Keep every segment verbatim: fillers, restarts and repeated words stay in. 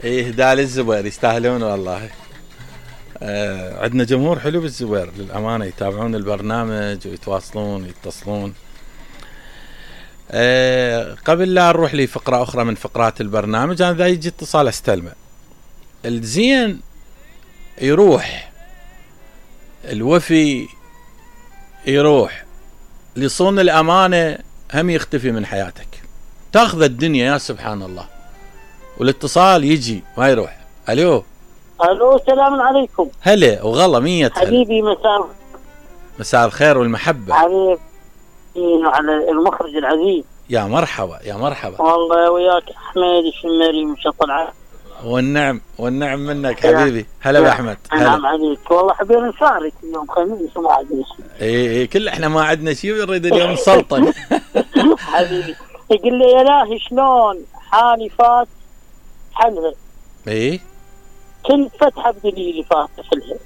ايه هدا للزبير يستاهلون والله. آه عندنا جمهور حلو بالزبير للأمانة، يتابعون البرنامج ويتواصلون ويتصلون. آه قبل لا نروح لي فقرة أخرى من فقرات البرنامج، أنا ذا يجي اتصال استلمه. الزين يروح، الوفي يروح، لصون الأمانة هم يختفي من حياتك. تاخذ الدنيا يا سبحان الله، والاتصال يجي ما يروح. الو الو السلام عليكم. هلا وغلا مية هلا. حبيبي مساء مساء الخير والمحبة. حبيبي على المخرج العزيز. يا مرحبا يا مرحبا. والله وياك احمد الشمري من شط العالم. والنعم والنعم منك حبيبي. هلا باحمد. نعم عليك والله. حبينا نشارك اليوم خميس وما عندنا شيء. اي اي كل احنا ما عندنا شيء ونريد اليوم نسلطن. حبيبي يقول لي يا لاهي شلون حالي فات حلها. اي كنت فتحه بدليلي فاتح لها.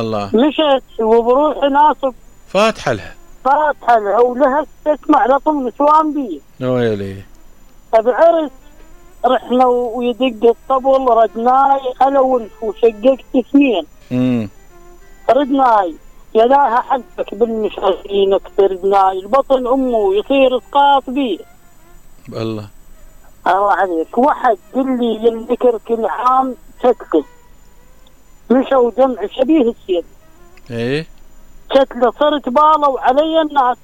الله. مشت وبروحي ناصب فاتحه لها. فاتحه لها ولها تسمع لطم نسوان بي. ويلي. بعرس رحنا ويدق الطبل ردناي انا والف وشققت اثنين. امم ردناي يا لاها حلفك بالمشاهدين اكثر ردناي البطن امه يصير اسقاط بيه. الله الله عليك. واحد قل لي ينذكر كل عام كتله مشوا جمع شبيه السيد. ايه كتله صرت باله وعلي الناس.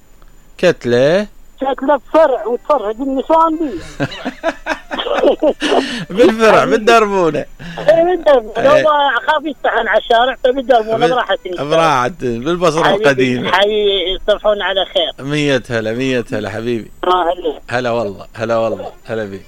كتله كتله بفرع وتفرج النسوان بيه. بالفرع بالدربونه. ايه بالدربونه. والله اخاف يستحن على الشارع فبالدربونه براحتي. براحة بالبصره القديمه. حي يصبحون على خير. مية هلا مية هلا حبيبي. هلا هلا والله هلا والله هلا بيك.